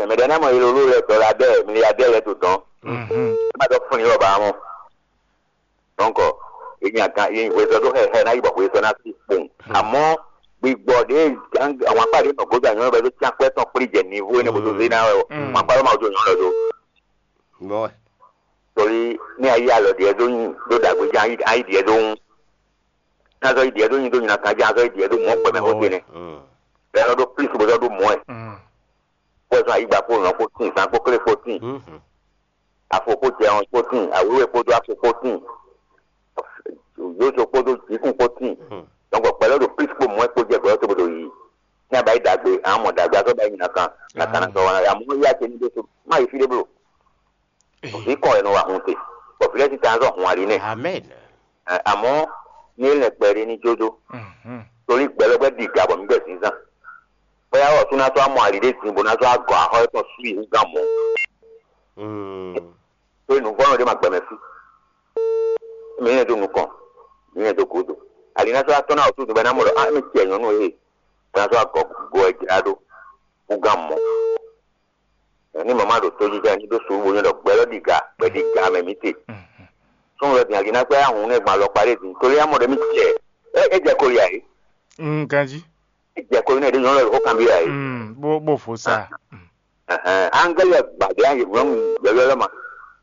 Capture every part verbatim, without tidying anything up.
Mɛ ɖé ná mɔ iloló lɛ dɔla dɛ, mli ya dɛ lɛ to dɔn. Má dɔ fún ni lɔ ba mɔ. Donc, e nya gan e hwezɔ ɖó xɛxɛ ná yi bɔ hwezɔ ná sí kpowun. Àmọ́ gbigbɔ ɖé, àwọn akpá ɖé nɔ gǒdo anyɔ́ bɛ ɖó cyán kpɛ́ tɔn kplí jɛ nivo énɛ́ bó dó zé ná wɛ o. Àwọn akpá ɖó ma wó jó nyɔ́ lɔ dó. Bɔ Torí ní a yí alɔ ɖiɛ dó nyi ɖó ɖagbe jí, a yí ɖiɛ dó wún. Ní a zɔ yi ɖiɛ dó nyi dó nyi na kan jí, a zɔ yi ɖiɛ dó mɔ̌ kpɛmɛ xó ce nɛ. Bɛ́ nɔ ɖó plísi bó zɔ ɖó mɔ̌ ɛ. Bó zɔn ayigba kpó nɔ kpó tín, zan kpó klé kpó tín, afo kpó jɛɔn kpó tín, awéwé kpódó afo kpó tín, yóso kpódó jǐkún kpó tín. Donc gbɛ̌lɛ́ ɖo plísi kpó mɔ̌ ɛ kpó jɛ gbɛ̌lɛ́ tó bó ɖo yiyi. Ní a ba yi ɖagbe, a mɔ ɖagbe, a zɔ ba yi nyi na kan, na kan na sɔ wan ya mɔ yá ce ní ɖésú. Má yi fí ɖé bló. Vǐ kɔn wɛ nɔ wa hun te, bɔ vǐ lɛ́ɛ sín ta zɔ hun ali nɛ. Amen. Ɛ, àmọ́ ní é lɛ́ kpɛɖé ní jó dó, torí gbɛ lɔ gbɛ́ ɖi ga bɔ mǐ gbɛ zǐnzán. Bóyá wɔ sú ná sɔ́ amɔ ali ɖé din bó ná sɔ́ agɔ axɔ étɔn sú yi hú gán mɔ̌. Mm. Torí nǔvɔ́nɔ ɖé ma gbɛ mɛ fí. Mǐ nyɛ dó nukɔn, mǐ nyɛ dó gǔdo. Ali ná sɔ́ atɔ́ ná wɔ sú dun bɔ é ná mɔ ɖɔ á mì cɛ nyɔ̌nu e bó ná sɔ́ agɔ go ɛ jlá ɖó hú gán mɔ̌. Ní mama ɖo tojijɛ ní ɖó suɖu bo nyɔ́ ɖɔ gbɛ lɔ ɖi ga, gbɛ ɖi ga mɛ mǐ te. Sɔ́n lɔ din ali ná gbɛ ahun nɛ gbɔn alɔkpa ɖé din, tóli amɔ ɖe mì cɛ. É é jɛ koli ǎ é. Mm, ganjí. É jɛ koli nɛ ɖé nyɔ́ lɔ xó kan bí ǎ é. Mm, bó bó fo sa. Angɛli gbàdé ayé nyɔ́nu yɔyɔ lɔ ma.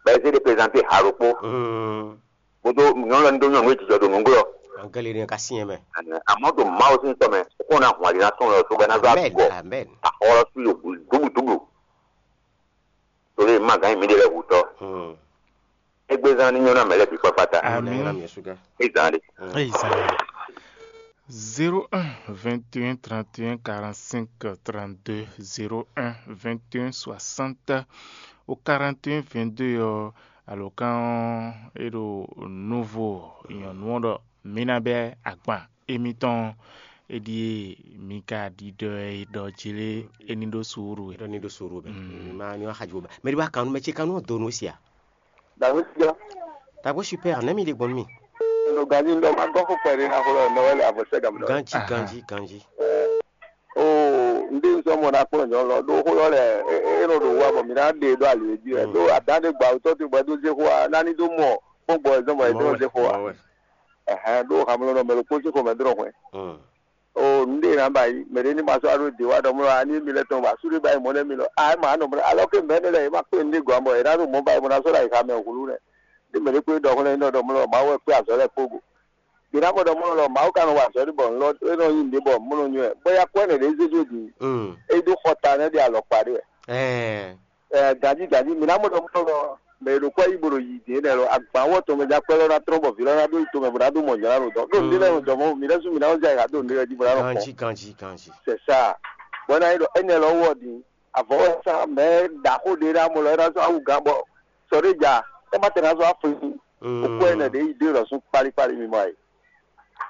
Bɛ zé ɖe prezante ha ɖokpó. Mm. Bó dó nyɔ́nu lɔ ní dó nyɔ́nu e jijɔ ɖo nǔglɔ́. Angɛli ní ka syɛn mɛ. Àmọ́ ɖo Mawu sín tɔ́ mɛ, kó ná hun ali ná sɔn lɔ sóbɛ ná zá Amen. Gɔ. Amen. Axɔlɔ sú yo dúbudúbu. Torí ma gán mi ɖe lɛ hutɔ. Hmm. Égbézán ní nyɔ́ ná mɛ lɛ́ bǐ kpákpátá. Amen. Amen. Ézán ɖe. Ézán. Zéro un vingt et un trente et un quarante-cinq trente-deux, zéro un vingt et un soixante au quarante et un vingt-deux ɔ́, alɔkán ɔ́ é ɖo nuvo nyɔ̌nu ɔ́ ɖɔ mǐ ná bɛ́ agban émítɔn é ɖíe mi ka ɖiɖɔ ɛ ɖɔ jí lé é ní ɖó suúlu wɛ. Ɖɔ ní ɖó suúlu wɛ. Mm. Má ní wá xajú bá. Mɛ ɖé wá kan nú mɛ ce kan nú ɔ́ donu ó sia. Dàgbé ti jọ. Dàgbé super, nɛ́ mi ɖe gbɔn nú mi. Ɖo ganji ŋɖɔ ma gɔ́ xó kpɛɖé ná xó lɔ nɔ wɛ le avɔ sɛ gam lɔ. Ganji, ganji, ganji. Oo, ŋɖé ŋsɔ mɔ ná kplɔ́n nyɔ lɔ ɖó xó lɔ lɛ é é nɔ ɖo wa bɔ mǐ ná ɖe ɖó ali jí wɛ ɖó adán ɖé gba wutɔ te bɔ é dó zé xó wa nání dó mɔ kpɔ́n gbɔ ɛ zɔn bɔ é dó zé xó wa. Ɛhɛn, ɖó hamlɔnɔ mɛ ɖokpó sín xomɛ dó nɔ hwɛ. O nǔɖé ná ba yi mɛ ɖé ní ma sɔ́ aɖó dě wá ɖɔ mlɔ ani mi lɛ tɔn ba súɖé ba yi mɔ nɛ́ mi lɔ a é ma nɔ mlɔ alɔ ké mɛ nɛ lɛ é ma kpé nǔɖé gɔn bɔ é ná ɖo mɔ ba yi mɔ ná sɔ́ ɖo ayǐxa mɛ hǔlú nɛ ní mɛ ɖé kpé ɖɔ xlɛ́ ní ɖɔ mlɔ Mawu wɛ kpé azɔ̌ lɛ́ɛ kpó go. Ɖě ná mɔ ɖɔ mlɔ lɔ Mawu ka nɔ wa azɔ̌ ɖé bɔ nlɔ é nɔ nyí nǔɖé bɔ mɔnɔ nywɛ bɔ ya kɔ ɛnɛ ɖě zé dó din é ɖó xɔ ta nɛ́ ɖi alɔkpa ɖé wɛ. Ɛɛ, ganjí ganjí mi ná mɔ ɖɔ mlɔ lɔ mɛ e ɖo kɔ yí bo ɖo yi dě nɛ lɔ agban wɔ tɔn mɛ ja kpɛ lɔ ná trɔ́n bɔ vǐ lɔ ná ɖó yi tomɛ bó ná ɖó mɔ nyɔ̌ná ɖo dɔn ɖó nǔɖé lɛ́ɛ jɔ mɔ mi lɛ́ sú mi ná wá zɛ ayǐ ɖo nǔɖé lɛ́ɛ jí bó ná nɔ kpɔn. Ganjí, ganjí, ganjí. C'est ça. Bɔ é ná nyí ɖɔ énɛ́ lɔ wɔ din avɔ wɛ sá mɛ ɖaxó ɖé ná mɔ lɔ é ná sɔ́ awu gán bɔ sɔ ɖé ja é má tɛ ná sɔ́ afɔ yi okú ɛnɛ ɖě yi dé lɔ sún kpálíkpálí mi mɔ ayǐ.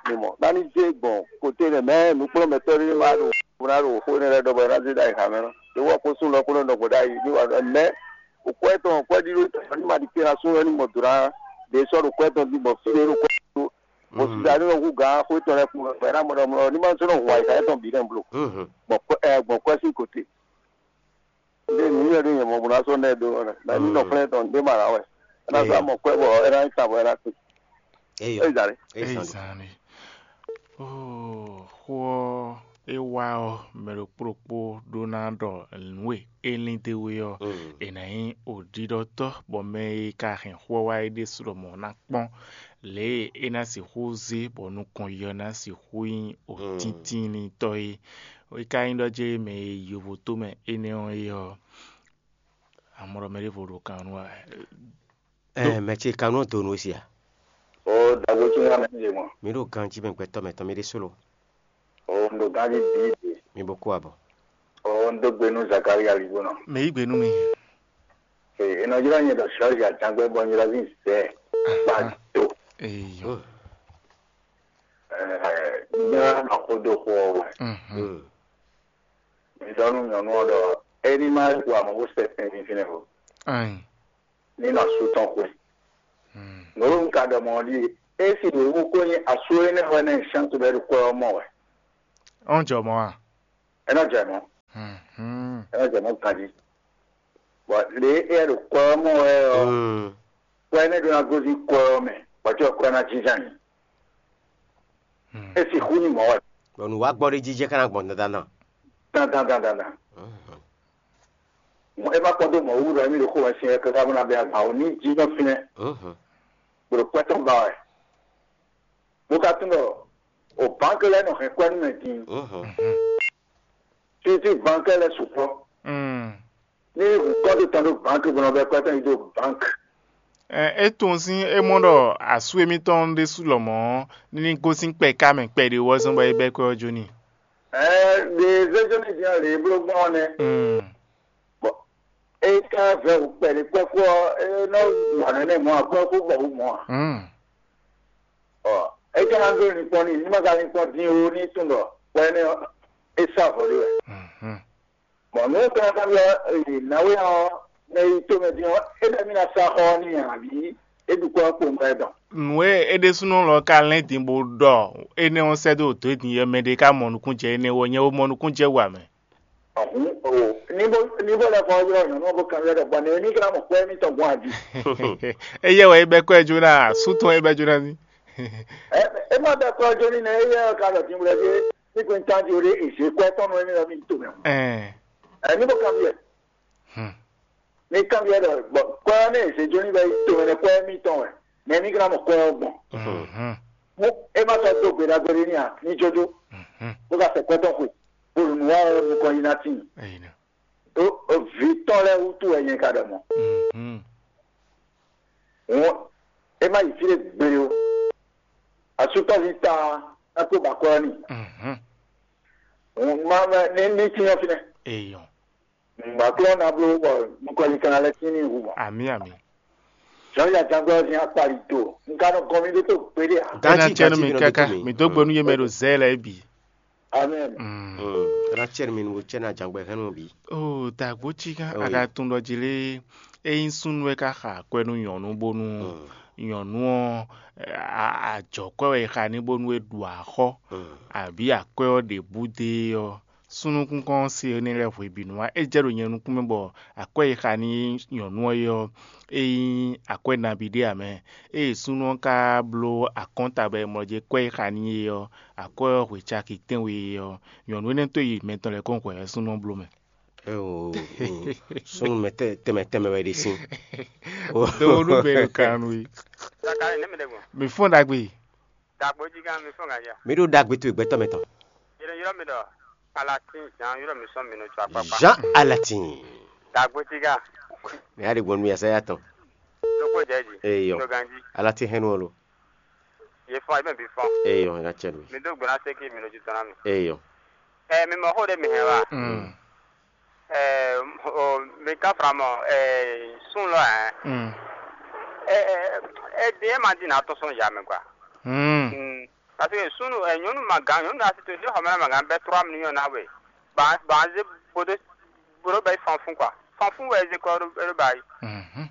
Mi mɔ nání zé gbɔn kote nɛ mɛ nǔkplɔ́nmɛtɔ́ ɖé ma ɖo bó ná ɖo xó énɛ́ lɛ́ɛ ɖɔ bɔ é ná zé ɖó ayǐ xá mɛ nɔ. Ɖé wɔ kó sún lɔ kó nɔ nɔ gbɔ ɖó ayǐ ní wa ɖɔ mɛ okú ɛtɔn okú ɛɖí ɖó tɔn ní ma ɖi kpé ná sún lɔ ní mɔ dǒ ná ɖě sɔ́ ɖo kú ɛtɔn dín bɔ fí ɖé ɖo kú ɛtɔn bɔ sisa ní nɔ hú gǎn xó étɔn lɛ́ɛ kún bɔ é ná mɔ ɖɔ mlɔ ní ma sɔ́ nɔ hu ayǐ xá étɔn bǐ nɛ blo gbɔn kwɛ ɛ gbɔn kwɛ sín kote. Ndé nǔnywɛ́ ɖé nyɛ mɔ bó ná sɔ́ nɛ́ ɖó ɔ́, mɛ ní nɔ xlɛ́ tɔn ɖé ma ná wɛ. É ná sɔ́ amɔ kwɛ́ bɔ é ná nyí ta bɔ é ná kpé. Eyɔ. É zǎn ɖé. Eyɔ. Zan ni. Oh, xó ɔ́ é wá ɔ́, mɛ ɖokpó ɖokpó ɖó ná ɖɔ nǔ e é lín d'é wú é ɔ́, è nǎ nyí òɖiɖɔtɔ́, bɔ mɛ e ka hɛn xó ɔ́ wá é ɖésú lɔmɔ̌ ná kpɔ́n lě e é ná sixú zé bɔ nukɔn yi ɔ́ ná sixú nyí òtítínlítɔ́ é. É ka nyí ɖɔ jɛ́n mɛ e yi yovotomɛ énɛ́ ɔ́ é ɔ́, amlɔ mɛ ɖěvo ɖo kan nú wɛ. Ɛ, mɛ ce kan nú donu sia. O dagbo tún wá mɛ ɖe mɔ. Mi ɖo ganji mɛ gbɛtɔ mɛ tɔn mi ɖe solo. O ndo ganji di de. Mi bo kó abɔ. O ndo gbe nú Zakaria libo nɔ. Mɛ yí gbe nú mi. Ee, enɔ jira nyɛ dɔ sɔzi atangbɛ bɔ nyira vi zɛ. Ba do. Eyo. Ɛɛ, nyira ma ko do xɔ wɛ. Mhm. Mi dɔ nu nyɔnu ɔ dɔ. Eni ma wa mo ko sɛ fɛn fɛn o. Ayin. Ní nɔ asú tɔn xwe. Nǔɖuɖu ka ɖɔ mɔ̌ ɔ́ ɖíe, esi ɖě wú kó nyí asú énɛ́ wɛ nɛ́ sɛ́n to bɛ́ ɖo kwɛ ɔ́ mɔ wɛ. Ɔ́n jɔ mɔ̌ a? É nɔ jɛ mɔ̌. É nɔ jɛ mɔ̌ ganjí. Bɔ lě e é ɖo kwɛ ɔ́ mɔ wɛ ɔ́, kwɛ énɛ́ ɖó ná gosín kwɛ ɔ́ mɛ, bɔ cɛ́ kwɛ ná jínjɔ́n ayǐ. É sixú nyí mɔ̌ wɛ. Bɔ nǔ wá gbɔ ɖé jijɛ ká ná gbɔn dandan. Dandan dandan dan. É má kpɔ́n dó mɔ̌ wú ɖɔ émí ɖo xó wɛ sin wɛ káká bó ná bɛ́ agban o ní jí nɔ fínɛ́, bó ɖo kwɛ́ tɔn ba wɛ. Bó ka tunwun ɖɔ o bǎnkɛ lɛ́ɛ nɔ hɛn kwɛ́ nú mɛ din. Títí bǎnkɛ lɛ́ɛ sukpɔ́. Ní hǔn kɔ́ dó tɔn ɖó bǎnkɛ bó nɔ bɛ́ kwɛ́ tɔn yi dó bǎnkɛ. Ɛ, é tunwun sín é mɔ ɖɔ asú émítɔn ɖésú lɔmɔ̌ ní ní gosín kpɛ̌ká mɛ kpɛɖé wú ɔ́ zɔ́n bɔ é bɛ́ kwɛ́ ɔ́ jó n'i. Ɛɛ, ɖe zézémɛ din ɔ́ lě e bló gbɔn ɔ́ nɛ́. Mm. Bɔ é ka vɛ wǔ kpɛɖé kpɛ́kú ɔ́, é nɔ wa nɛnɛ mɔ̌ ǎ, kpɛ́kú bɔ wǔ mɔ̌ ǎ. Mm. Ɔ, é ka ná dó linkpɔ́n n'i, ní ma ka linkpɔ́n din ó, ní tunwun ɖɔ hwɛ énɛ́ ɔ́, é sá vɔ̌ ɖé wɛ. Mhm. Bɔ nǔ e ka ná byɔ́ nǎwe ɔ́, mɛ e yi tomɛ din ɔ́, é ɖɔ émí ná sá xɔ ɔ́ n'i ǎ, abǐ é ɖu kɔ́ ɔ́ kpowun ɛ dɔn. Nǔ e é ɖésúnɔ lɔ ka lɛ́n din bó ɖɔ énɛ́ ɔ́ sɛ́ dó dǒ din ɔ́, mɛ ɖé ka mɔ nukúnjɛ énɛ́ wú ɔ́, nyɛ bo mɔ nukúnjɛ wú ǎ mɛ. Ɔhún o, ní bó ní bó lɛ́ fɔ ylɔ́ nyɔ̌nu ɔ́ bó kanbyɔ́ ɖɔ gbɔn nɛ̌ ní ka ná mɔ kwɛ́ émítɔn gbɔn a jí? Éyɛ́ wɛ é bɛ́ kwɛ́ jó ná, sú tɔn é bɛ́ jó ná ní. Ɛ é má bɛ́ kwɛ́ jó ní nɛ́ éyɛ́ ɔ́ ka ɖɔ din wlɛ́ jí ní kún tán jí ó ɖé è zě kwɛ́ tɔn nú émí ɔ́ mì to mɛ. Ɛn Ɛ ní bó kanbyɔ́. Hmm. Ní kanbyɔ́ ɖɔ gbɔn kwɛ́ ɔ́ ní è zě jó ní bɛ́ yi to mɛ nɛ́ kwɛ́ émítɔn wɛ, nɛ̌ ní ka ná mɔ kwɛ́ ɔ́ gbɔn? Mhm. Mú é má sɔ́ dó gbe ɖagbe ɖé ní a ní jójó, Mhm. bó ka sɛ kwɛ́ tɔn xwe, bó ɖo nǔ wa ɔ́ nukɔn yi ná tíin. Eyi nɔ. Ó ó vǐ tɔn lɛ́ɛ wútu wɛ nyɛ ka ɖɔ mɔ̌. Mhm. Hǔn é má yi fí ɖé gbeɖé ó. Asútɔ́ví ta ná kó ba kwɛ́ ɔ́ n'i. Mhm. Hǔn má má ní ní cyɔ́n fínɛ́. Eyɔn. Nǔgbáklɔ́ ná bló bɔ nukɔn yi kan lɛ́ tín n'i hu mɔ̌. Amǐ amǐ. Jɔn ya jangwɛ ɔ́ dín akpali do. Un ka nɔ gɔn mì ɖó tó gbeɖé ǎ. Ganji, Ganji, mi kaka, mi dó gbe nú yé mɛ ɖo zɛ lɛ́ɛ bǐ. Amen. Mm. Mm. Rachel mi nu cɛ na jangbe hɛn nu bi. Oh, dagbo ci kan Oh, aga tun ɖɔ jí lé. Eyin súnnu wɛ ka xa akwɛ nú nyɔ̌nu bónú nyɔ̌nu ɔ́, a- a- ajɔ̌kwɛ́ wɛ è xa n'i bónú é ɖu axɔ́, Mm. abǐ akwɛ́ ɔ́ ɖě bú dó e ɔ́, súnnu kúnkɔ́n ɔ́ se énɛ́ lɛ́ɛ hwebǐnu wá. É jɛ ɖo nyɛ nukún mɛ bɔ akwɛ́ e xa n'i nyɔ̌nu ɔ́ é ɔ́, é nyí akwɛ́ nabí ɖé ǎ mɛ. Ée súnnu ɔ́ ka bló akɔ́nta bɔ è mlɔ jɛ kwɛ́ e xa n'i é ɔ́, akwɛ́ ɔ́ hwe caki tɛ́nwe é ɔ́, nyɔ̌nu énɛ́ tó yi mɛ tɔn lɛ́ɛ kɔn hwɛ wɛ súnnu ɔ́ bló mɛ. Eo, súnnu mɛ tɛ- tɛnmɛ tɛnmɛ wɛ ɖe sín. Dowonu bɛ ɖo kan nú i. Zakari ne mi ɖe gbɔn. Mi fɔn ɖagbe. Dagbo jí gán mi fɔn ganja. Mi ɖo ɖagbe to gbɛtɔ mɛ tɔn. Yɛrɛ yɔrɔ mi ɖɔ. Alatin Jean yɔrɔ mi sɔn mi nɔ tsɔ akpakpa. Jean Alatin. Dagbo jí gán. Mi ya ɖe gbɔn mi ya sɛ ya tɔn. Loko jɛ ji. Eyɔ. Loko ganji. Alatin hɛn wolo. Ye fɔn, ye mɛ bi fɔn. Eyɔ, ya cɛ mi. Mi do gbɔna se ki mi nɔ ju tɔn na mi. Eyɔ. Ɛ mi mɔ xó ɖe mi hɛn wa. Mm. Ɛɛ, o, mi ka fara mɔ, ɛɛ, sun lɔ, ɛɛ. Mm. Ɛɛ, ɛɛ, ɛɛ, den e ma di na tɔn sɔn ya mɛ, quoi. Mm. Mm. Parce que sun, ɛɛ, nyɔnu ma gan, nyɔnu asi to, ne xɔmɛ ma gan bɛ trois millions na we. Ba, ba ze bodo, bodo bɛ fanfun, quoi. Fanfun wɛ ze kɔ, ɛɛ, ba yi. Mhm.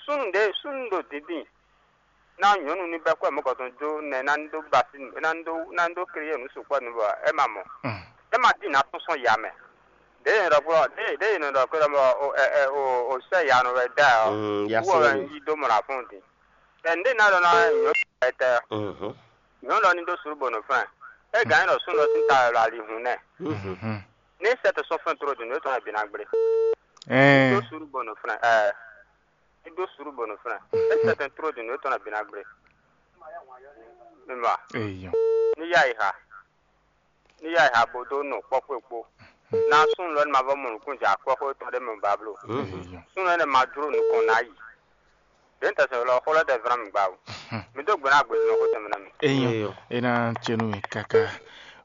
Sun de, sun do dindin. Na nyɔnu ní bɛ́ kwɛ́ mɔ̌kɔtɔn jó nɛ́ ná ní dó basi nǔ, ná ní dó ná ní dó kle yɛ nǔ sukpɔ́ nǔ bɔ é ma mɔ. Mm. É ma tín ná tún sɔn ya mɛ. Ɖěe è nɔ ɖɔ kpɔ́ ɖěe ɖěe è nɔ ɖɔ kpɔ́ ɖɔ mɔ o ɛ ɛ o o sɛ ya nɔ wɛ da ɛ ɔ́. Mm, ya wú ɔ wɛ sɛ́n. Yí dó mɔ ɖo afɔ́n din. Tɛ nǔɖé ná ɖɔ ná nyɔ̌nu ɛ tɛ Mhm. Nyɔ̌nu ɔ́ ní dó suɖú bɔ nǔ flɛ́n. É gǎn nyí ɖɔ súnnu ɔ́ sín ta wɛ ɖo ali hun nɛ́. Mhm. Ní sɛ tó sɔ́ flɛ́n tló din nǔ é tɔn wɛ bǐ ná gblé. Ní dó Ɛɛ. Suɖú bɔ nǔ flɛ́n. Ɛɛ. Ní dó suɖú bɔ nǔ flɛ́n. É sɛ tɛn tló din nǔ é tɔn wɛ bǐ ná gblé. Mi mɔ a? Eyɔ. Ní yá yi ha. Ní yá yi ha bó dó nɔ kpɔ́kpɔ́ kpó. Ná súnnu lɔ ní ma vɔ mɔ nǔkún jɛ akɔ́xó tɔn ɖé mɛ ba bló. Eyɔ. Súnnu énɛ́ ma jló nukɔn ná yi. Ɖě un tɛsɛn lɔ xó lɛ́ tɛ vlán mi gbá o. Mi dó gbe ná gbe nɔ xó tɛnmɛ ná mi. Eyɔ. Eyɔ. E ná cɛ nú mi káká.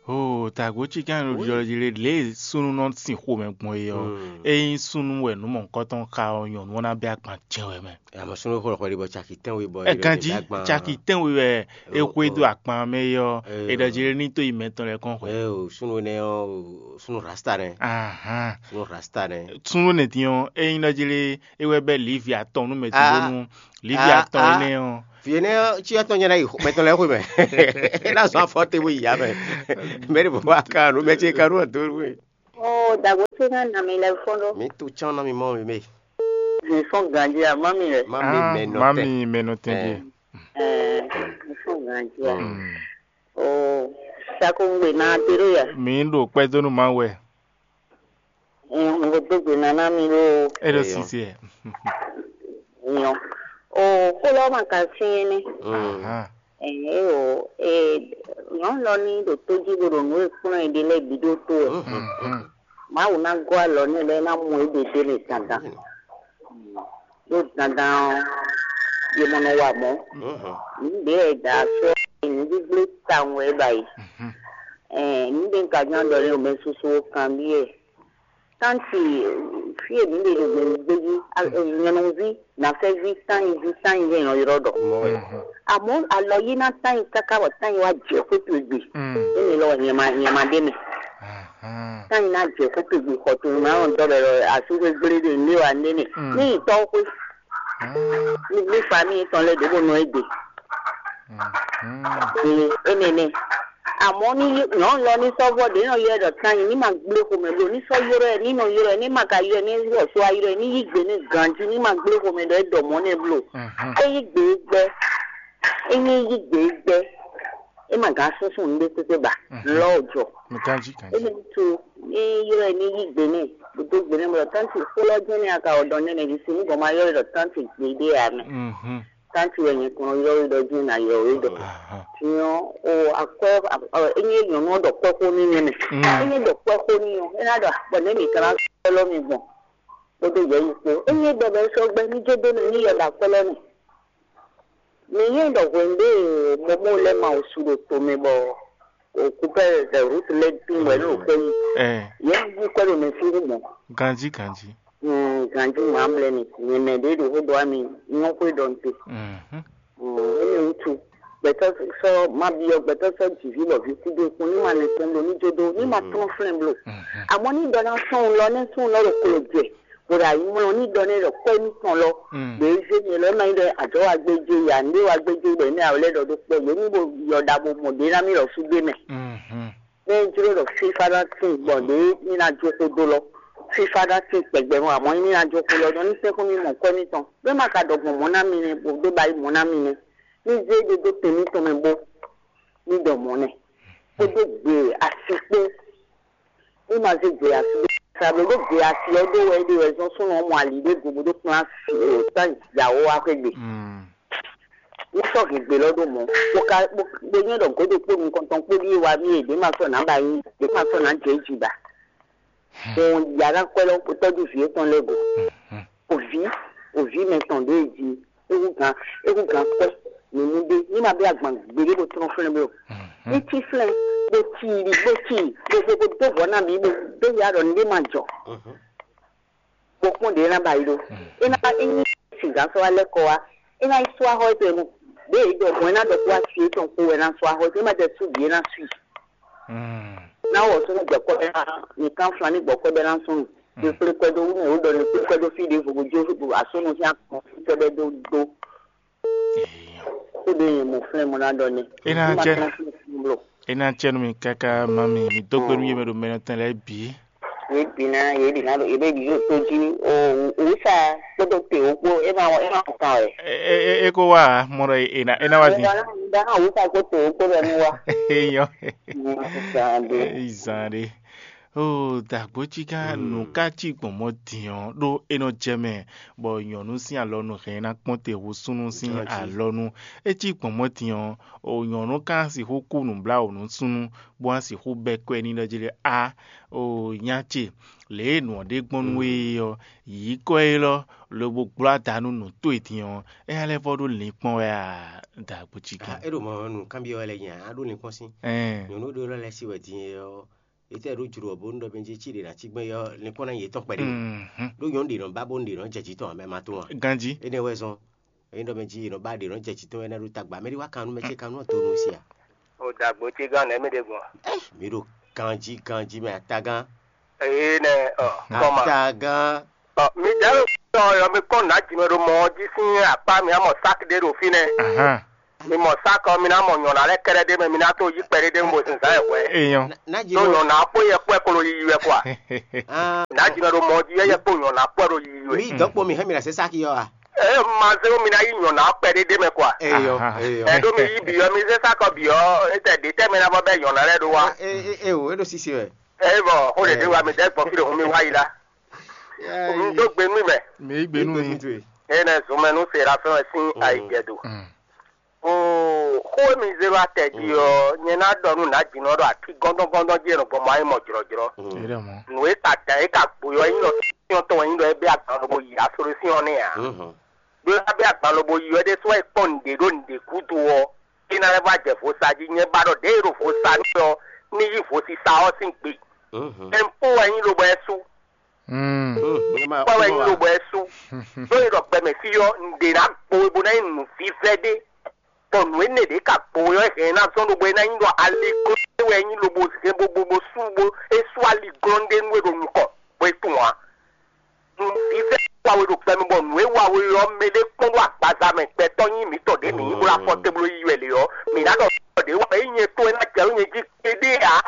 Oo, tagbo cí gán ɖo ɖiɖɔ jí lé lě e súnnu nɔ sin xomɛ gbɔn é ɔ́. Mm. É nyí súnnu wɛ nǔ mɔ̌hunkɔtɔn xa ɔ́, nyɔ̌nu ɔ́ ná bɛ́ agban jɛ́n wɛ mɛ. Àmọ́ súnú xɔ xɔ ɖibɔ caki tɛ́nwe bɔ Ɛ ganjí caki tɛ́nwe wɛ é xwedó akpan mɛ é ɔ́, é ɖɔ jí ní tó yi mɛtɔn lɛ́ɛ kɔn xwɛ. Ɛ o, súnú nɛ ɔ́, súnú rasta nɛ. Ahan. Súnú rasta nɛ. Súnú nɛ dín ɔ́, é nyí ɖɔ jí lé é wɛ bɛ́ lǐvi atɔn nú mɛ Ah. Bónú lǐvi Ah, atɔn ah. Énɛ́ ɔ́. Vǐ énɛ́ ɔ́, cí atɔn nyɛ ná yi mɛtɔn lɛ́ɛ xwé mɛ. É ná zɔn afɔ te bó yi yá mɛ. Mɛ ɖě bó wá kan nú mɛ ce kan nú ɔ́ dó nú we. Oo, dagbo ce ná nɔ mi lɛ́ fɔ́n ɖó. Mi to tsán ná mi mɔ mi mɛ. Mi fɔ́n ganjí a, má mi wɛ. Má mi Ah, mɛ nɔ má tɛn. Mi mɛ nɔ tɛn Ɛ. Ɛ, mi fɔ́n ganjí a. Mm. O, sakungbè na te ɖo ya. Mi ɖo kpɛdónú ma wɛ. Ɛ, mo dó gbe na ná mi ɖo É ɖo Eyɔ. Sisi ɛ. Nyɔ. O, xó lɔ ma ka syɛn nɛ. Mm. Aha. Ɛ, o, e, nyɔ lɔ ní ɖo tó jí bo ɖo nǔ e kplɔ́n ɛ ɖe lɛ́ɛ bǐ ɖó tó ɛ. Mhm. Mhm. Mawu ná gɔ́ alɔ nú ɛ lɛ́ɛ ná mɔ éɖée ɖé mɛ dandan. Ɖó dandan ɔ́, yě mɔ nɔ wa mɔ̌. Mhm. Nǔ ɖě wɛ è da asú ɔ́, nǔɖíblé tawun wɛ é ba yi. Mhm. Ɛɛ, nǔ ɖě un ka ján ɖɔ lé o mɛ susu ó kanbyɔ́ ɛ. Tánti, fí e mǐ ɖe ɖo gběgbé jí, a- nyɔ̌nuví, nǎfɛ́ví, tányiví, tányiví è nɔ ylɔ́ ɖɔ. Mɔ̌ wɛ. Mhm. Àmọ́ alɔ yí ná tányi káká bɔ tányi wá jɛ xwé towe gbe. Mm. Énɛ́ lɔ wɛ nyɛ ma nyɛ ma ɖ'é mɛ. Ahan. Tányi ná jɛ xwé towe gbe xɔ towe mɛ, alɔ dɔ bɛ lɔ asúxwé gblé ɖe nɖé wa nɖé nɛ. Mm. Ní yi tɔ́ xwé. Ah. Ní ní famille tɔn lɛ́ɛ ɖě bó nɔ é gbe. Mhm. Ee, énɛ́ nɛ. Àmọ́ ní nyɔ̌nu lɔ ní sɔ́ vɔ́ ɖě nɔ ylɔ́ ɛ ɖɔ tányi ní ma gblé xomɛ bló, ní sɔ́ ylɔ́ ɛ, ní nɔ ylɔ́ ɛ, ní ma ka ylɔ́ ɛ, ní ylɔ́ só wá ylɔ́ ɛ, ní yí gbe ní ganjí, ní ma gblé xomɛ ɖɔ é ɖɔ mɔ̌ nɛ bló. Mhm. É yí gbe é gbɛ́. É nyí yí gbe é gbɛ́. É ma gǎn súnsún nǔɖé kpékpé ba. Mhm. Lɔ jɔ. Mi kanjí kanjí. Émi tu ní ylɔ́ ɛ ní yí gbe nɛ, bó dó gbe nɛ bɔ tánti xó lɔ jɛ́n nɛ a ka wɔ dɔn nɛ nɛ ví si ní gɔn ma ylɔ́ ɛ ɖɔ tánti gbeɖé ǎ mɛ. Mhm. Tánti wɛ nyɛ kɔn ylɔ́ we ɖɔ jɛ́n ná ylɔ́ we ɖɔ. Aha. Tiɲɔ o akwɛ ɔ, é nyí nyɔ̌nu ɔ́ ɖɔ kwɛ́ xó n'i nyɛ mɛ. Mm. É nyí ɖɔ kwɛ́ xó n'i ɔ́, é ná ɖɔ bɔ nɛ̌ mǐ ka ná sɔ́ lɔ́ mi gbɔn? Kpódó yɛ̌yi kpó. É nyí ɖɔ bɔ é sɔ́ gbɛ́ ní jó dó mì ní yɛ ɖo akwɛ́ lɔ mɛ. Mǐ yí ɖɔ hwěndé e Momo lɛ́ɛ ma wǔ su ɖo tomɛ bɔ òkúpɛ́ Rut lɛ́ɛ tín wɛ ní òkú yi. Ɛ, Yě yí kwɛ́ ɖo mɛ sín mɔ̌. Ganjí ganjí. Mm, ganjí mǎ blɛ́ mi. Nyɛ mɛ ɖě ɖo xó ɖɔ wá mi nyɔ́ xwé ɖɔ nte. Mhm. Mm, énɛ́ wútu. Gbɛtɔ́ sɔ́ ma byɔ́ gbɛtɔ́ sɔ́ jǐví bɔ ví kú dó kún ní ma nɛ kpɔ́n bló ní jó dó ní ma tlɔ́n flɛ́n bló. Mhm. Àmọ́ ní ɖɔ ná sɔ́n lɔ nɛ́ sɔ́n lɔ ɖo klo jɛ. Bó ɖo ayǐmlɔ́ ní ɖɔ nɛ́ ɖɔ kɔ́ émítɔn lɔ. Mm. Ɖě zé nyɛ lɔ ná nyí ɖɔ ajɔ̌ wa gbéjé ya, nǔɖé wa gbéjé bɔ émí awɔ lɛ́ ɖɔ ɖó kpɔ́ yě ní bo yɔ ɖa bo mɔ ɖě ná mì lɔ sú gbé mɛ. Mhm. Né jló ɖɔ fífá ná tín gbɔn ɖě ní ná jó xó dó lɔ. Fífá ná tín kpɛgbɛ mɔ, àmọ́ ní ná jó xó lɔ, nɔ ní sɛ́n xó mì mɔ kwɛ́ mítɔn. Bó ma ka ɖɔ gbɔn mɔ̌ ná mi nɛ́, bó ɖó ba yí mɔ̌ ná mi nɛ́. Ní zé ɖé dó te mítɔn mɛ bó ní ɖɔ mɔ̌ nɛ́. Kpódó gbe asi kpó. Ní ma zé gbe asi ɖó sa bló ɖó gbe asi ɔ́ ɖó wɛ é ɖe wɛ zɔ́n súnnu ɔ́ mɔ ali ɖé go bó ɖó kplán asi o tán yǎwó wá xwé gbe. Mm. Ní sɔ́ hɛn gbe lɔ ɖó mɔ̌. Bó ka bó bó nyɔ́ ɖɔ gǒdo kpó nukɔntɔn kpó ɖíe wá mì e ɖě ma sɔ́ nǎ ba nyí, ɖě ma sɔ́ nǎ jɛ jí ba. Bɔn yǎ ná kwɛ́ lɔ tɔ́jú vǐ étɔn lɛ́ɛ go. Mhm. Òví, òví mɛ tɔn ɖě e jí é hú gǎn é hú gǎn kwɛ́ nǔnú ɖé ní ma bɛ́ agban gbeɖé bó tlɔ́n flɛ́n bló. Mhm. Ní cí flɛ́n bó cí i bó cí i bó bó bó dó vɔ̌ ná bǐ bó dó ya ɖɔ nǔɖé ma jɔ. Mhm. Bó kpɔ́n ɖě é ná ba yi ɖó. Mhm. É ná é nyí sǐgǎn sɔ́ wá lɛ́ kɔ wá. É ná yi sú axɔ́ étɔn e mɔ. Ɖěe é ɖɔ gbɔn é ná ɖɔ kó wá sí étɔn kpó wɛ ná sú axɔ́ étɔn. É má jɛ sú bǐ é ná sú i. Mm. Ná wɔ súnú gbɛkɔ́ bɛ́ ná mi kán flan ní gbɔkɔ́ bɛ́ ná súnnu. Mm. Kpékpé kɔ́ dó wú mɛ wó ɖɔ ní kpékpé dó fí ɖěvo bó jó asúnú sín akɔn fí tɔ́ bɛ́ dó dó. Eyɔ. Kó ɖó nyɛ mɔ flɛ́n mɔ ná ɖɔ ní. É ná Ní ma jẹ́. Tán fún fún bló. É ná jẹ́ nú mi káká má mi mi dó gbe nú yé mɛ ɖo mɛ nɔ tɛn lɛ́ɛ bǐ. Yě bǐ ná yě bǐ ná ɖo yě bɛ ɖi yóò tó jí o òwúsa kpódó te wó kpó é ma é ma kó kan wɛ. É é é kó wá mɔ ɖɔ é ná é ná wá dín. Ìdáná ìdáná òwúsa kpó te wó kpó bɛ ní wá. Eyɔ. Ní wá kó kan dé. Izan ɖe. Oo, dagbo cí gán nǔ ká cí gbɔn mɔ din ɔ́ ɖó é nɔ jɛ mɛ bɔ nyɔ̌nu sín alɔnu hɛn ná kpɔ́n te hú súnnu sín alɔnu. É cí gbɔn mɔ din ɔ́, o nyɔ̌nu ká sixú kú nǔbláwǔ nú súnnu bó wá sixú bɛ́ kɔ́ ɛ n'i ɖɔ jí ɖɔ a o nya ce lě e nǔ ɔ́ ɖe gbɔn nú we é ɔ́, yǐ kɔ élɔ́ lobo gbló ada nú nǔ towe din ɔ́, éyɛ́ lɛ́ vɔ́ ɖó linkpɔ́n wɛ a? Dagbo cí gán. É ɖo mɔ nǔ kanbyɔ́ wɛ lɛ nya a ɖó linkpɔ́n sín. Ɛn. Nyɔ̌nu ɖé lɔ lɛ́ sí wɛ din é ɔ́, etɛ́ ɖó jlǒ ɔ́ bónú ɖɔ mɛ jí cí ɖě ná cí gbɛn yɔ linkpɔ́n ná nyí yětɔn kpɛɖé. Mhm. Ɖó nyɔ̌nu ɖě nɔ ba bónú ɖě nɔ jɛ jǐ tɔn ǎ mɛ ma tunwun a? Ganjí. Énɛ́ wɛ zɔn. Ényí ɖɔ mɛ jí è nɔ ba ɖě nɔ jɛ jǐ tɔn wɛ ná ɖó tagba mɛ ɖé wá kan nú mɛ ce kan nú ɔ́ donu sí a? O dagbo ce gán nɛ̌ mɛ ɖe gbɔn? Mi ɖo ganjí ganjí mɛ atagán. Ee nɛ ɔ kɔma. Atagán. Ɔ mi dá ló sɔ yɔ mi kɔ nà jì mɛ ɖo mɔ ɔ́ jí sín akpá mi amɔ sáki ɖé ɖo fínɛ́. Ahán. Mi mɔ sáki ɔ mi ná mɔ nyɔ̌ná lɛ́ɛ kɛ́ɖɛ́ ɖé mɛ mi ná tó yí kpɛɖé ɖé mɔ zǐnzán yɛ hwɛ. Eyɔn. Ná jì Tó mɔ. Nyɔ̌ná kpó yɛ kpó ɛ kolo yiyi wɛ kɔa. Ah. Nǎ Ajinɔ ɖo mɔ jí, eye kpo nyɔ̌ná kpɔ ɖo yiyi wɛ. Mi dɔn kpo mi hɛn mi ɖe se saki yɔ a? Ɛ ma zé mi ná yí nyɔ̌ná kpɛ ɖé ɖé mɛ kɔ a? Eyɔ, eyɔ. Ɛ ɖó mi yí biyɔ mi zé sakɔ biyɔ, etɛ ɖě tɛ mɛ ná bɔ bɛ nyɔ̌ná lɛ ɖó wa. E e e o, e ɖo sisi wɛ. Ɛ bɔ xó ɖe ɖé wa mi dɛ gbɔn fi ɖe hun mi wá yi la. Un dó gbe nú mɛ. Mi yí gbe nú mi. Enɛ zun mɛ nú Serafin wɛ sín ayijɛ do. Oo, xó e mi zé wá tɛ jí ɔ́, nyɛ ná ɖɔ nú nǎjínɔ ɖɔ akí gɔ́ndɔ́ngɔ́ndɔ́n jí e nɔ gbɔn mɔ ayé mɔ jlɔ̌jlɔ́. Nǔ e ka dǎn é ka gbo ɔ́, é nyí nɔ cyɔ́n tɔn wɛ nyí ɖɔ é bɛ́ agban lobo yi asolosyɔ́n nɛ́ ǎ. Ɖó é ná bɛ́ agban lobo yi ɔ́ ɖésú wɛ é kpɔ́n nǔɖé ɖó nǔɖé gúdo ɔ́, é ná lɛ́ vɔ jɛ vo sa jí. Nyɛ ba ɖɔ ɖěe ɖo vo sa nú ɔ́, ní yí vo sisa ɔ́ sín gbe. Ɛnpó wɛ nyí lobo ɛ sú. Kpɔ́ wɛ nyí lobo ɛ sú. Ɖó é ɖɔ gbɛmɛ fí ɔ́, nǔɖé ná gbo é bó ná nyí nǔvívɛ́ ɖé. Bɔ nǔ énɛ́ ɖě ka gbo wɛ ɔ́, hɛn ná zɔ́n ɖo bɔ é ná nyí ɖɔ aliglɔ́n ɖé wɛ é nyí lobo hɛn bo bo bo sú bo é sú aliglɔ́n ɖé nú é ɖo nukɔn bɔ é tunwun ǎ. Nǔvívɛ́ wa we ɖo gbɛ mɛ bɔ nǔ e wa we ɔ́, mɛ ɖé kpɔ́n ɖo agbaza mɛ gbɛtɔ́ nyí mǐtɔn ɖě mǐ nyí bó ná fɔ te bló yi wɛ lě ɔ́, mǐ ná ɖɔ ɖě wɛ é nyɛ to e ná jɛ nú nyɛ jí kpéɖé ǎ.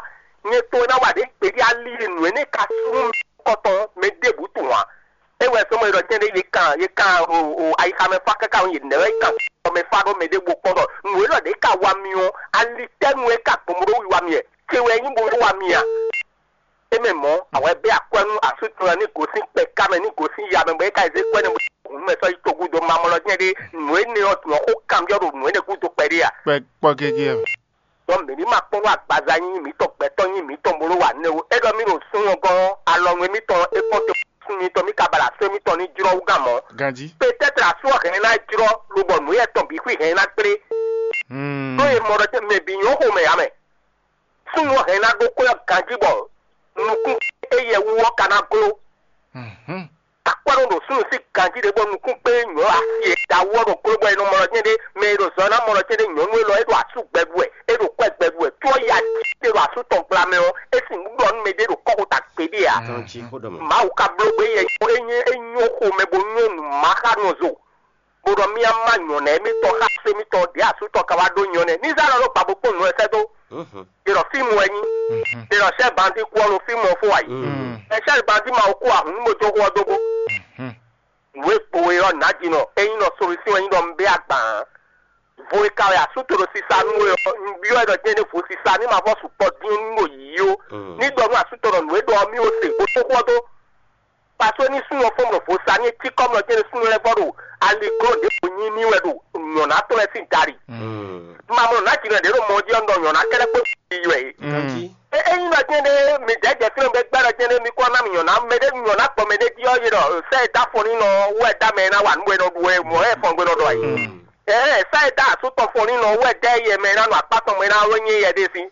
Nyɛ to e ná wa ɖě kpéɖé ali e nǔ énɛ́ ka sú nú mɛ kɔtɔn mɛ ɖěbǔ tunwun ǎ. É wɛ sɔ́ mɔ è ɖɔ tɛ́nɖé yě kan yě kan o o ayixa mɛ fá káká ɔ́, yě nɛ́ wɛ kan mɛ fá ɖó mɛ ɖěbǔ kpɔ́n ɖɔ nǔ élɔ́ ɖě ka wa mi ɔ́, ali tɛ́ nú é ka gbɔn bó ɖó wiwa mi wɛ? Ce wɛ nyí bó ɖó wa mi a? É mɛ mɔ̌, awɛ bɛ́ akwɛ́ nú asú tɔn ní gosín kpɛ ká mɛ ní gosín ya mɛ bɔ é ka zé kwɛ́ nɛ bó hun mɛ sɔ́ yi togun dó mamɔlɔ jɛ́n ɖé nǔ énɛ́ ɔ́ dun ɔ́ xó kanbyɔ́ ɖo nǔ énɛ́ gúdo kpɛɖé a? Kpɛ kpɔ gégé ɛ. Ɖɔ mǐ ní ma kpɔ́n nú agbaza nyí mǐtɔn gbɛtɔ́ nyí mǐtɔn bó nɔ́ wa nɛ́ ó. É ɖɔ mí ɖo súnnu gɔ́n ɔ́, alɔnu émítɔn é kpɔ́n te súnnu mitɔn mí ka ba ɖo asú émítɔn ní jlɔ́ wú gán mɔ̌. Ganjí. Pétɛ́tr asú ɔ́ hɛn ná jlɔ́ lobɔ nǔ yɛ tɔn bǐ xwí hɛn ná kplé. Hmm. Ɖó e mɔ ɖɔ mɛ bǐ nyɔ́ xomɛ ǎ mɛ. Súnnu ɔ́ hɛn ná ɖó xwé ɔ́ ganjí bɔ nukún éyɛ́ wú ɔ́ ka ná gló. Mhm. Akwɛ́ nɔ ɖo súnnu sín ganjí ɖé bɔ nukún kpé nyɔ̌ asi e da wú ɔ́ ɖo gló bɔ è nɔ mɔ lɔ jɛ́n ɖé, mɛ e ɖo zɔ ná mɔ lɔ jɛ́n ɖé nyɔ̌nu élɔ́ é ɖo asú gbɛɖu wɛ, é ɖo kwɛ́ gbɛɖu wɛ, có ɔ́ ya jí ɖé ɖo asú tɔn gbla mɛ ɔ́, é sixú ɖɔ nú mɛ ɖé ɖo kɔ́xota gbeɖé ǎ. Tɔn jí xó ɖɔ mɛ. Mawu ka bló gbé yɛ é nyɔ́ é nyɔ́ xomɛ bó nyɔ́ nǔ má xá nɔ zo. Bó ɖɔ mía má nyɔ̌ná émítɔn xá só émítɔn ɖě asú tɔn ka wá ɖó nyɔ̌ nɛ́. Ní zá lɔ ɖó gbǎ bó kpɔ́n nǔ lɛ́ɛ sɛ́ dó. Ɖě nɔ fíìmù wɛ nyí. Ɖě nɔ sɛ́ bandi kú ɔ́ nɔ fíìmù ɔ́ fó wá yi. Ɛ sɛ́ bandi ma wú kú ahun nú moto xó ɔ́ dó bó. Nǔ e gbo we ɔ́ nǎ jǐ nɔ, ényí nɔ solusyɔn wɛ nyí ɖɔ un bɛ́ agban ǎ. Vo e ka wɛ asú to ɖo sisa nú we ɔ́, un byɔ́ ɛ ɖɔ jɛ́n ɖé vo sisa ní ma vɔ sukpɔ dín nú ɖo yǐyí ó. Ní ɖɔ nú asú tɔn ɖɔ nǔ e ɖɔ ɔ́ mì ó se, bó tó xó ɔ́ dó. Paseke ní súnnu ɔ́ fɔ́n ɖo vo sa ní é cí kɔ́mlɔ jɛ́n súnnu lɛ́ɛ vɔ ɖo aliglɔ́ ɖěvo nyí mì wɛ ɖo nyɔ̌ná tɔn lɛ́ɛ sín dari. Mamɔ nǎ jǐnɔ ɖě ɖo mɔ jí ɔ́, un ɖɔ nyɔ̌ná kɛ́ɖɛ́ kpó yi wɛ é. Ényí ɖɔ jɛ́n ɖé mi dɛ̌ jɛ fínɛ́ bɛ gbɛ́ ɖɔ jɛ́n ɖé mi kó ná mi nyɔ̌ná mɛ ɖé nyɔ̌ná gbɔ mɛ ɖé jí ɔ́, yě ɖɔ sɛ́ e dó afɔnínɔ wɛ dá mɛ e ná wa nǔ bɔ è nɔ ɖu wɛ mɔ̌ wɛ fɔn gbe nɔ ɖɔ ayǐ. Ɛɛ sɛ́ e dó asú tɔn fɔnínɔ wɛ dɛ́ yɛ mɛ e ná nɔ akpá tɔn mɛ ná wɛ nyí yɛ ɖé sín.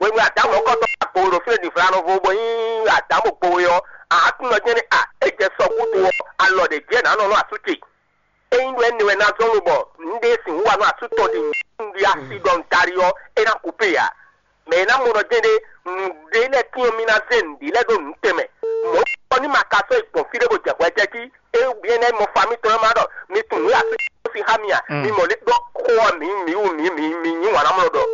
Hwenu e Adamu ɔ́ kɔ tɔn agbo ɖo fínɛ́ ɖi vlanɔvo bɔ nyí Adamu gbo we ɔ́, aǎtúnɔ jɛ́n ní a é jɛ sɔ gúdo ɔ́, alɔ ɖě jɛ nǎ nɔ nú asú ce. Ényí ɖɔ énɛ́ wɛ ná zɔ́n lobɔ nǔɖé e sixú wa nú asú tɔn ɖi nǔɖé asi ɖɔ un tali ɔ́, é ná kupé ǎ. Mɛ e ná mɔ ɖɔ jɛ́n ɖé nǔɖé lɛ́ɛ tín ɔ́, mì ná zé nǔɖé lɛ́ɛ ɖó nǔ tɛnmɛ. Mɔ̌ ɔ́ ní ma ka sɔ́ yi gbɔn fí ɖé bó jɛ hwɛ jɛ jí. É byɔ́ énɛ́ mɔ fa mitɔn e ma ɖɔ mi tunwun nǔ e asú tɔn sín xá mi a? Mi mɔ ɖé ɖɔ xó ɔ́, mǐ mǐ wú mǐ mǐ mǐ nyí wǎn ná mlɔ ɖɔ.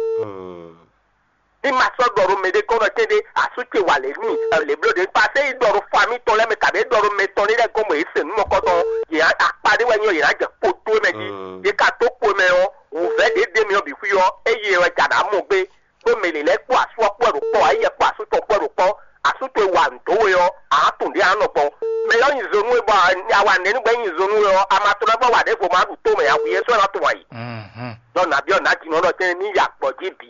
Ní ma sɔ́ ɖɔ ɖo mɛ ɖé gɔ́n ɖɔ tɛ́nɖé asú ce wa lě n'i lě bló ɖě pasé yi ɖɔ ɖo fa mitɔn lɛ́ɛ mɛ kabě ɖɔ ɖo mɛ tɔn lɛ́ɛ gɔ́n bɔ yě se nǔ mɔkɔtɔn yě akpa ɖé wɛ nyɔ yě ná jɛ kpo dó mɛ jí. Yě ka dó kpo mɛ ɔ́, wǔvɛ́ ɖě ɖe mɛ ɔ́ bǐ xwí ɔ́, eye wɛ ja ɖǎ mɔ gbé. Ɖó mɛ lě lɛ́ɛ kpó asú ɔ́ kpó wɛ ɖo kpɔ́ ǎ, yɛ kpó asú tɔn kpó wɛ ɖo kpɔ́. Asú towe wa nǔ dó we ɔ́, ǎ tunwun ɖě ǎ nɔ gbɔn. Mɛ ɔ́ nyi zo nú we bɔ awa nɛ̌ nú gbɛ́ nyi zo nú we ɔ́, a ma tlɔ́ bɔ wa ɖěvo ma ɖu tó mɛ ǎ, hwi é sɔ́ ná tunwun ayǐ. Nɔ nǎ byɔ́ nǎ jǐnɔ ɖɔ tɛ́ntin ní ya gbɔ̌ jí bǐ.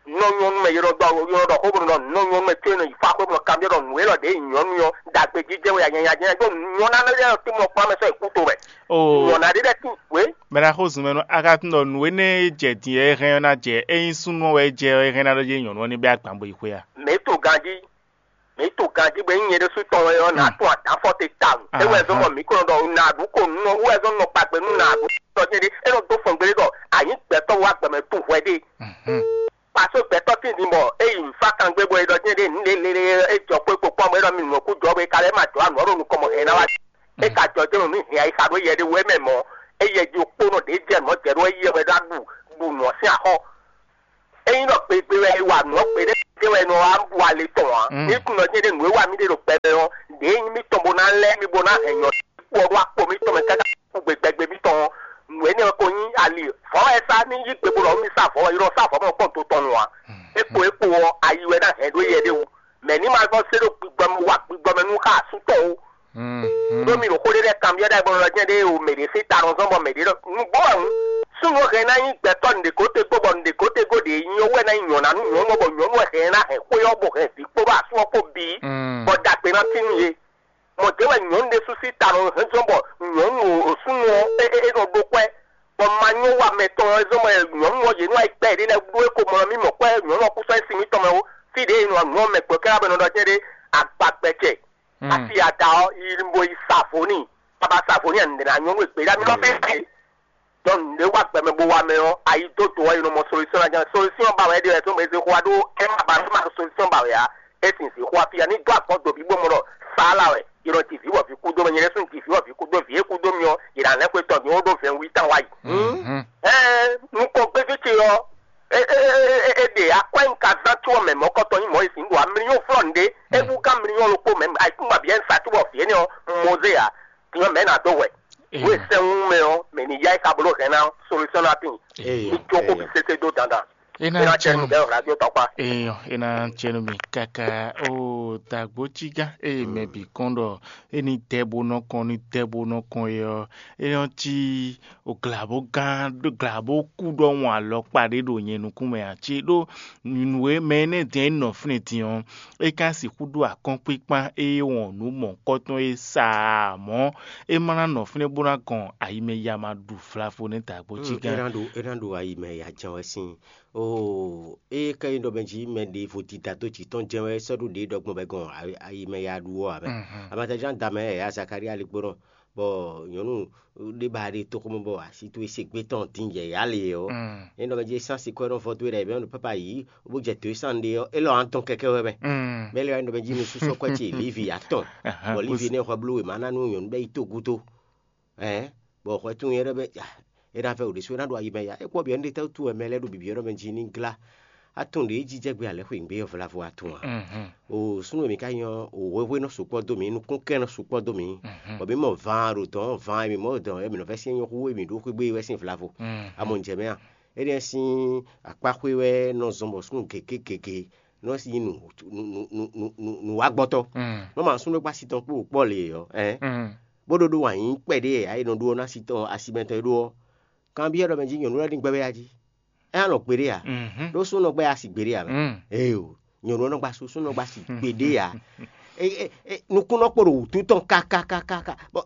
Nɔ nyɔnu mɛ yɔɖɔ ɖɔ yɔɖɔ ɖɔ xó bó nɔ nɔ nyɔnu mɛ tso nɔ yi fa xó bó nɔ kanbyɔ́ ɖɔ nǔ élɔ́ ɖě nyɔnu yɔ ɖagbe jijɛ wɛ yanyanya jɛ ɖó nyɔna lɛ yɔ tí mɔ kpɔ́n mɛ sɔ yi kú to wɛ. Oo. Nyɔna ɖé lɛ tí wé. Mɛ na xó zun mɛ nú a ka tunɔ nǔ énɛ́ e jɛ din e hɛn ɔ́ ná jɛ ényí súnnu ɔ́ wɛ jɛ ɔ́, é hɛn ná ɖɔ jɛ nyɔ̌nu ɔ́ ní bɛ́ agban bo yi xwé a? Mɛ to ganjí, mɛ to ganjí bɔ nyí nyɛ ɖésú tɔn wɛ ɔ́, nǎ tún adǎfɔ te tawun. É wɛ zɔ́n bɔ mǐ ko nɔ ɖɔ nǎɖú ko nú wɛ zɔ́n nɔ kpagbe nú nǎɖú tɔn jɛ́n ɖé. É nɔ dó fɔn gblé ɖɔ a nyǐ gbɛtɔ́ wá gbɛmɛ tún hwɛ ɖé. Pasó gbɛtɔ́ tíndin bɔ é yi nǔ fá kangbé bɔ é ɖɔ jɛ́n ɖé nǔ lélele é jɔ xwé kpokpɔ́ mɔ é ɖɔ mi nǔ kú jɔ bɔ é ka lɛ́ ma jɔ anǔ ɔ́ ɖo nukɔn mɔ hɛn ná wá. É ka jɔ jɛ́n nǔ hɛn ayixa ɖó yɛ ɖé wú é mɛ mɔ̌. É yɛ ji kpónɔ ɖě jɛ nǔ ɔ́ jɛ ɖó é yɛ wɛ ɖó aɖu ɖu nǔ ɔ́ sín axɔ́. Ényí ɖɔ kpegbe wɛ è wa nǔ ɔ́, kpe ɖé wɛ è nɔ wá bu ali tɔn ǎ. Ní tunwun ɖɔ nyɛ ɖe nǔ e wa mì ɖe ɖo gbɛ mɛ ɔ́, ɖě nyí mì tɔn bó ná lɛ́ mì bó ná hɛn nyɔ kú ɔ́ ɖó akpo mì tɔn mɛ káká kú gbe gbɛgbɛ mì tɔn ɔ́, nǔ énɛ́ ɔ́ ko nyí ali. Vɔ̌ wɛ é sá ní yí gbe bó ɖɔ mì sá vɔ̌ wɛ, yi ɖɔ sá vɔ̌ mɛ kpɔ́n do tɔn nu ǎ. É kpo é kpo ɔ́, ayi wɛ ná hɛn ɖó yɛ ɖé wú. Mɛ ní ma gbɔ sé ɖo gbigbɔ mɛ wá gbigbɔ mɛ nú xá asú tɔn ó. Ɖó mi ɖo xó ɖé lɛ́ɛ kanbyɔ́ ɖagbe ɖɔ jɛ́n ɖé o, mɛ ɖě sín ta nɔ zɔ́n bɔ mɛ ɖě ɖɔ nǔgbó wɛ hǔn. Súnnu hɛn ná nyí gbɛtɔ́ nǔɖékótégó bɔ nǔɖékótégó ɖě nyí ɔ́ wɛ ná nyí nyɔ̌ná nú nyɔ̌nu ɔ́, bɔ nyɔ̌nu wɛ hɛn ná hɛn xwé ɔ́ bɔ hɛn vǐ kpó ɖo asú ɔ́ kpó bǐ, bɔ ɖagbe ná tín nú yě. Mɔ̌ ɖě wɛ nyɔ̌nu ɖésú sín ta nɔ hɛn zɔ́n bɔ nyɔ̌nu o súnnu ɔ́ é é é nɔ ɖó kwɛ́, bɔ ma nyɔ́ wa mɛ tɔn ɔ́ zɔ́n bɔ nyɔ̌nu ɔ́ yě nɔ wá yi gbɛ́ yěɖée lɛ́ɛ ɖó é ko mɔ nú mì mɔ̌ kwɛ́ nyɔ̌nu ɔ́ kú sɔ́ sín mì tɔn mɛ ó. Fí ɖě è nɔ nǔ ɔ́ mɛ gbɔ̌ kɛ́ wá bɔ è nɔ ɖɔ jɛ́n ɖé agbagbɛcɛ. Asi ada ɔ́, yi bo yi sa vo n'i. Baba sa vo n'i a nǔɖé ná nyɔ́ nú e gběɖá mì nɔ fɛ́n ǎ. Donc nǔɖé wá gbɛ mɛ bó wá mɛ ɔ́, ayi dó do ɔ́, è nɔ mɔ solution ná jɛ́n. Solution ba wɛ é ɖe wɛ tó mɛ zé xó wá ɖó é ma ba é ma solution ba wɛ ǎ. É sin zé xó wá fí ǎ. Ní dó agbɔ́n do bí bó mɔ ɖɔ sála wɛ. È nɔ ji vǐ bɔ vǐ kú dó mɛ, nyɛ ɖésú un ji vǐ bɔ vǐ kú dó, vǐ e kú dó mì ɔ́, è nǎ lɛ́ xwé tɔn din ó ɖó vɛ̌nwí tán wá yi. Ɛɛ nukɔn gbéjé ce ɔ́, é é é é é ɖe akwɛ́ un ka zán có mɛ mɔ̌kɔtɔn nyí Mɔyízi un ɖo amliyɔ́ flɔ́ nǔɖé, é wú gán mliyɔ́ ɖokpó mɛ ayikúngban bǐ ɛ́ un sa cóbɔ vǐ énɛ́ ɔ́ un mɔ zé ǎ. Din ɔ́ mɛ̌ ná dó hwɛ? Nǔ e sɛ́n wú mɛ ɔ́, mɛ ní yá ɛ ka bló hɛn ná solution ná tíin. Ní jó xó bǐ sésé dó dandan. É ná Ena cɛ cɛnu nú bɛ́ radio tɔkpa. Eyɔ, é ná cɛ nú mi káká ó dagbo cígán eye mɛ bǐ kɔn ɖɔ é ní dɛ bó nɔ kɔn ní dɛ bó nɔ kɔn é ɔ́, é nɔ cí glǎbó gán glǎbó kú ɖɔhun alɔkpa ɖé ɖo nyɛ nukún mɛ ǎ. Cí ɖó nǔ e mɛ énɛ́ din e nɔ fínɛ́ din ɔ́, é ka sixú ɖó akɔ́nkpíkpán e wɔn nǔ mɔ̌hunkɔtɔn e sa ǎ mɔ̌, é ma ná nɔ fínɛ́ bó ná gɔn ayi mɛ ya ma ɖu vlavo nɛ́ dagbo cí gán. É ná ɖo é ná ɖo ayi mɛ ya jɛn wɛ sín. Oo, é ka nyí ɖɔ mɛ jí mɛ ɖěvo dida dó jǐ tɔn jɛ́n wɛ sɔ́ ɖó ɖě ɖɔgbɔn bɛ gɔn ayi mɛ ya ɖu ɔ́ ǎ mɛ. Amatajan da mɛ ya Zakaria ligbónɔ, bɔ nyɔ̌nu ɖé ba ɖe toxomɛ bɔ asi towe se gbé tɔn din yɛ̌yá le ɔ́. É nɔ mɛ jí sán si kɔ́ nɔ vɔ towe ɖɛ bɛ nɔ papa yǐ bó jɛ towe sán ɖe ɔ́, é lɔ an tɔn kɛkɛ wɛ mɛ. Bɛ́ lɛ wá nɔ mɛ jí nusúsɔ́ kɔ́ ce Livi atɔn, bɔ Livi nɛ xɔ bló wěma ná nú nyɔ̌nu bɛ́ yi tó gúdo. Ɛɛ, bɔ xɔ tunwun yɛ ɖɔ bɛ é ná vɛ wò ɖésú é ná ɖo ayi mɛ ya. É kpɔ biɔ ní ɖe tɛ́ wútu wɛ mɛ lɛ́ɛ ɖo bibyɔ́ ɖɔ mɛ jí ní glá. Atun ɖě jijɛ gbé alɛ xwe gbé vlavo atun a? O súnnu mi ka nyɔ o hwehwe nɔ sukpɔ dó mi, nukún kɛ nɔ sukpɔ dó mi. Bɔ mi mɔ van ɖo dɔn van mi mɔ dɔn mi nɔ fɛ sin nyɔ hu mi ɖo xwegbe wɛ sin vlavo. Amɔ njɛ mɛ a? Éɖe sin akpaxwe wɛ nɔ zɔn bɔ súnnu gege gege nɔ sin nu nu nu nu nu wa gbɔtɔ. Nɔ ma súnnu gba si tɔn kpó kpɔ le yɔ ɛ. Bó ɖo ɖo wǎn yí kpɛɖé ayi nɔ ɖó ná si tɔn asimɛtɔn e ɖó ɔ́. Kanbyɔ́ ɖɔ mɛ jí nyɔ̌nu lɛ́ɛ ní gbɛ́ wɛ a jí? É nɔ gbeɖé ǎ. Ɖó súnɔ gbɛ́ asi gbeɖé ǎ mɛ. Éyo, nyɔ̌nu ɔ́ nɔ gba sú súnɔ gba asi gbeɖé ǎ. Nukúnnɔ kpo ɖo wǔtu tɔn kákákákáká. Bɔ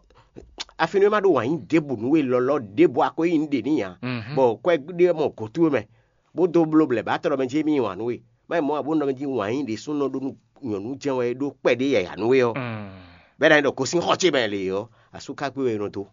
afi nú é má ɖó wǎn yí ɖěbǔ nú we lɔlɔ́ ɖěbǔ a ko yí nǔ ɖe n'i ǎ. Bɔ kwɛ́ ɖé mɔ gǒ towe mɛ, bó dó bló blɛ̌ bá tɔ́ ɖɔ mɛ jí émí wǎn nú we. Má nyí mɔ̌ ǎ bó nɔ mɛ jí wǎn yí ɖě súnɔ ɖó nú nyɔ̌nu jɛ́n wɛ é ɖó kpɛɖé yǎyá nú we ɔ́. Bɛ́ ná nyí ɖɔ gosín xɔ ce mɛ lě ɔ́, asú ka gbé wɛ è nɔ dó.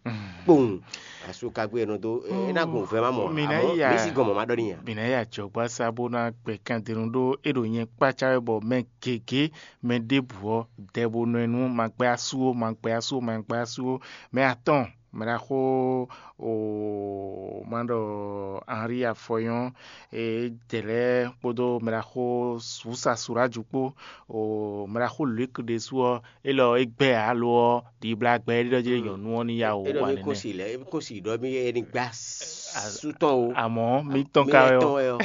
Kpowun, asú ka gbé wɛ è nɔ dó. É ná gun vɛ́ má mɔ ǎ. Mǐ ná yi mǐ sí gɔn mɔ̌ má ɖɔ n'i ǎ. Mǐ ná yi ajɔ̌gbásá bó ná gbɛ kandenu ɖó é ɖo nyɛ kpácá wɛ bɔ mɛ gěgé mɛ ɖěbǔ ɔ́ dɛ bo nɔ ɛ nú ma gbɛ́ asú ó, ma gbɛ́ asú ó, ma gbɛ́ asú ó. Mɛ atɔ́ɔn, mɛ ɖaxó o ma ɖɔ Henri Afɔyɔn, e dɛ̌ lɛ́ɛ kpódó mɛ ɖaxó Susa Suráju kpó, o mɛ ɖaxó Luke ɖésú ɔ́, é lɔ é gbɛ́ alo ɔ́ ɖibla gbɛ é ɖɔ jí nyɔ̌nu ɔ́ ní ya wò é ɖɔ wa mí kún nɛnɛ. Si lɛ é kún si ɖɔ mí é ní gbá sú tɔn o. Àmọ́ mí tɔn Mí ká wɛ wɛ tɔn ɔ́. Wɛ ɔ.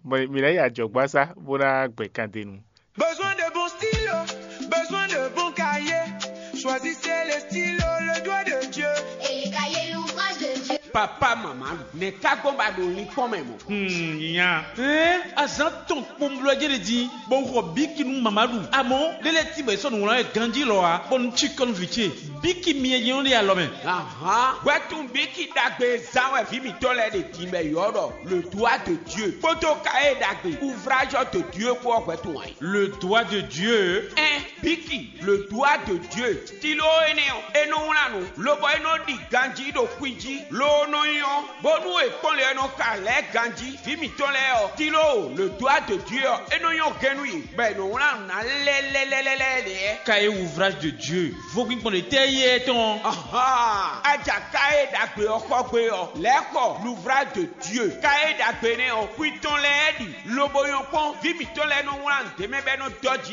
Mɛ- mǐ ná yi ajɔ̌gbásá bó ná gbɛ kandenu. Besoin de bons stylos, besoin de bons cahiers. Choisissez les stylos, le doigt de Dieu. Et les cahiers, l'ouvrage de Dieu. Papa mama nɛ ká gbɔn ba ɖo linkpɔn mɛ mɔ. Hmm, nya. Ɛɛ, azan tɔn kpɔnblɔ jɛ de di, bɔ xɔ biki nu mama ɖu. Amɔ lele ti bɛ sɔn wlan yɛ ganji lɔ wa, bɔ nu tsi kɔn vi ce. Biki miɛ yɛ de alɔ mɛ. Ahan, wɛtun biki dagbe zan wɛ vi mitɔ lɛ de di bɛ yɔ dɔ le doigt de Dieu. Kpoto ka e dagbe ouvrage de Dieu kpɔ wɛtun wɛ. Le doigt de Dieu. Ɛn, biki le doigt de Dieu. Stylo énɛ́ ɔ́, é nɔ wlán nǔ, lobɔ é nɔ ɖi ganjí ɖo kwín jí, loo nɔ nyɔ́, bónú è kpɔ́n lě ɔ́ nɔ xa lɛ̌ ganjí. Vǐ mǐtɔn lɛ́ɛ ɔ́, Tilóo, le doigt de Dieu ɔ́, é nɔ nyɔ́ gɛ́n nú yě, bɔ è nɔ wlán nǔ ná lɛ́lɛ́lɛ́lɛ́ lě. Cahier ouvrage de Dieu, vodún gbɔn ɖě tɛ́ yí é tɔn? Ahan, aja káyé ɖagbe ɔ́ xɔ gbe ɔ́, lɛ̌ xɔ l'ouvrage de Dieu. Káyé ɖagbe nɛ́ ɔ́, xwi tɔn lɛ́ɛ ɖi, lobo nyɔ́ kpɔ́n, vǐ mǐtɔn lɛ́ɛ nɔ wlán nǔ ɖé mɛ bɔ é nɔ dɔ́ jí.